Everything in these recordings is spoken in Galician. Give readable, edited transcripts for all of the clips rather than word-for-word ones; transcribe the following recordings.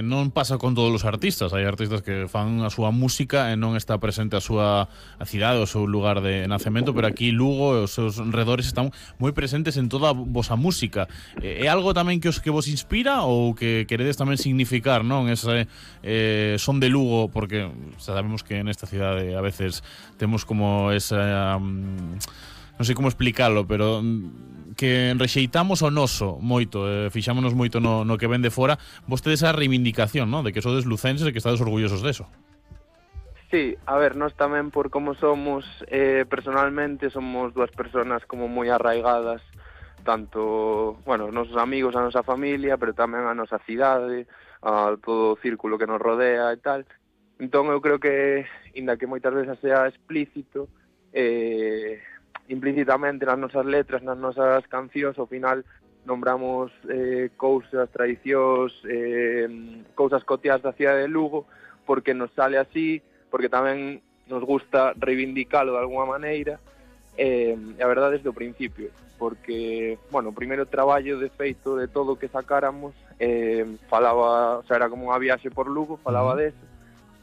Non pasa con todos os artistas. Hai artistas que fan a súa música e non está presente a súa cidade, o seu lugar de nacemento, pero aquí Lugo e os seus redores están moi presentes en toda a vosa música. É algo tamén que vos inspira ou que queredes tamén significar, non? Ese son de Lugo, porque sabemos que nesta cidade a veces temos como esa... non sei como explicarlo, pero que rexeitamos o noso moito, fixámonos moito no que ven de fora. Vostedes a reivindicación, ¿no?, de que sodes lucenses e que estades orgullosos deso. Sí, a ver, nós tamén por como somos personalmente, somos dúas persoas como moi arraigadas, tanto, bueno, os nosos amigos, a nosa familia, pero tamén a nosa cidade, a todo o círculo que nos rodea e tal. Entón eu creo que, inda que moitas veces sea explícito, implícitamente nas nosas letras, nas nosas cancións, ao final nombramos cousas, tradicións, cousas cotiás da cidade de Lugo, porque nos sale así, porque tamén nos gusta reivindicalo de alguma maneira, e a verdade desde o principio, porque, bueno, o primeiro traballo de feito de todo o que sacáramos falaba, o sea, era como unha viaxe por Lugo, falaba deso,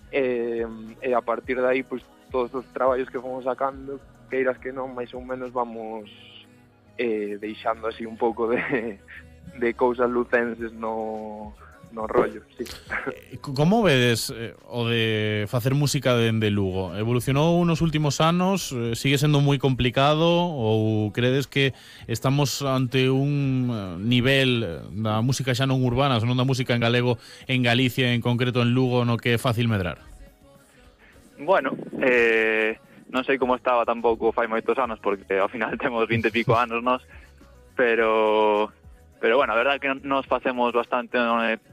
e a partir de aí, pois, todos os traballos que fomos sacando, queiras que non, máis ou menos vamos deixando así un pouco de cousas lucenses no rollo, sí. Como vedes o de facer música dende Lugo? Evolucionou nos últimos anos? Sigue sendo moi complicado? Ou credes que estamos ante un nivel da música xa non urbana, senón da música en galego en Galicia, en concreto en Lugo, no que é fácil medrar? Bueno, non sei como estaba tampouco fai moitos anos, porque ao final temos 20 e pico anos nós, pero bueno, a verdade é que nos facemos bastante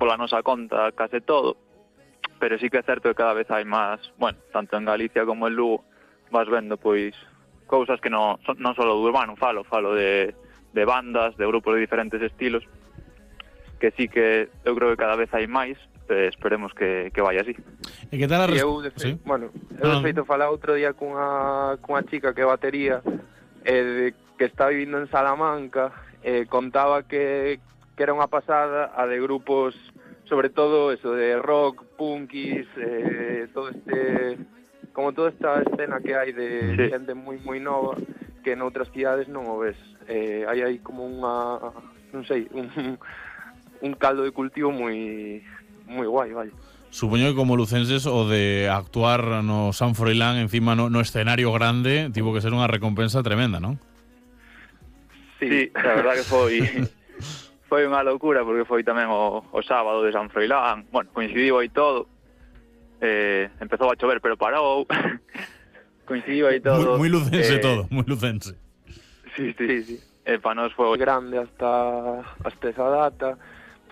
pola nosa conta case todo, pero sí que é certo que cada vez hai máis, bueno, tanto en Galicia como en Lugo, vas vendo pois cousas que non só do urbano falo de bandas, de grupos de diferentes estilos, que sí que eu creo que cada vez hai máis. Esperemos que vaya así. E que tal a ¿Sí? Bueno, eu de feito falaba outro día cunha chica que é batería, que está vivindo en Salamanca, contaba que era unha pasada a de grupos, sobre todo eso, de rock, punkis, todo como toda esta escena que hai de xente moi moi nova, que en outras cidades non o ves. Hai como unha, non sei, un caldo de cultivo moi guai, vai. Supoño que como lucenses o de actuar no San Froilán encima no escenario grande tivo que ser unha recompensa tremenda, non? Sí, a verdad que foi unha locura, porque foi tamén o sábado de San Froilán. Bueno, coincidiu aí todo, empezou a chover pero parou. Coincidiu aí todo. Moi lucense todo, moi lucense. Sí. Para nós foi grande hasta esa data.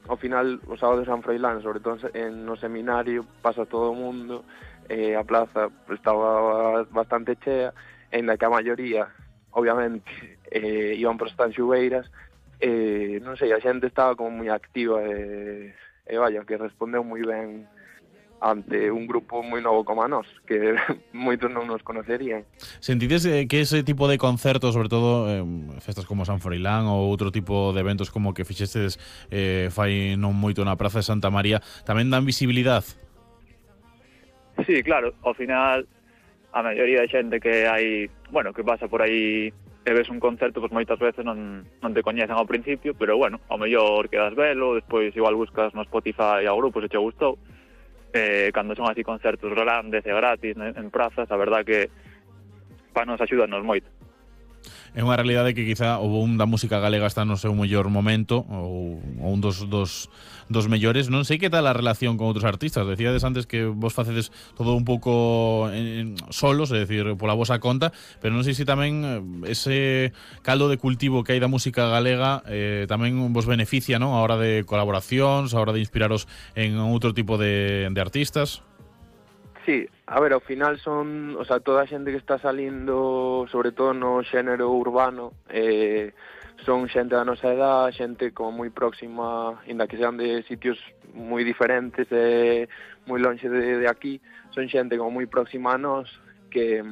Ao final, o sábado de San Froilán, sobre todo no seminario, pasa todo o mundo, a plaza estaba bastante chea, en la que a maioría, obviamente, iban por estas xubeiras, non sei, a xente estaba como moi activa e vaya, que respondeu moi ben ante un grupo moi novo como a nós, que moitos non nos conocerían. Sentides que ese tipo de concertos, sobre todo festas como San Froilán ou outro tipo de eventos como que fixestes fai non moito na Praza de Santa María, tamén dan visibilidade? Sí, claro, ao final a maioría de xente que hai, bueno, que pasa por aí e ves un concerto, pois moitas veces non te coñecen ao principio, pero bueno, ao mellor quedas velo, despois igual buscas no Spotify ao grupo se che gustou. Cando son así concertos grandes e gratis en prazas, a verdad que para nos axúdanos moito. É unha realidade que quizá o boom da música galega está no seu mellor momento ou un dos mellores. Non sei que tal a relación con outros artistas. Decíades antes que vos facedes todo un pouco solos, é dicir, pola vosa conta, pero non sei se tamén ese caldo de cultivo que hai da música galega tamén vos beneficia, non, a hora de colaboracións, a hora de inspiraros en outro tipo de artistas. Sí, a ver, ao final son, o sea, toda a xente que está salindo, sobre todo no xénero urbano, son xente da nosa edad, xente como moi próxima, inda que sean de sitios moi diferentes, moi lonxe de aquí, son xente como moi próxima a nós, que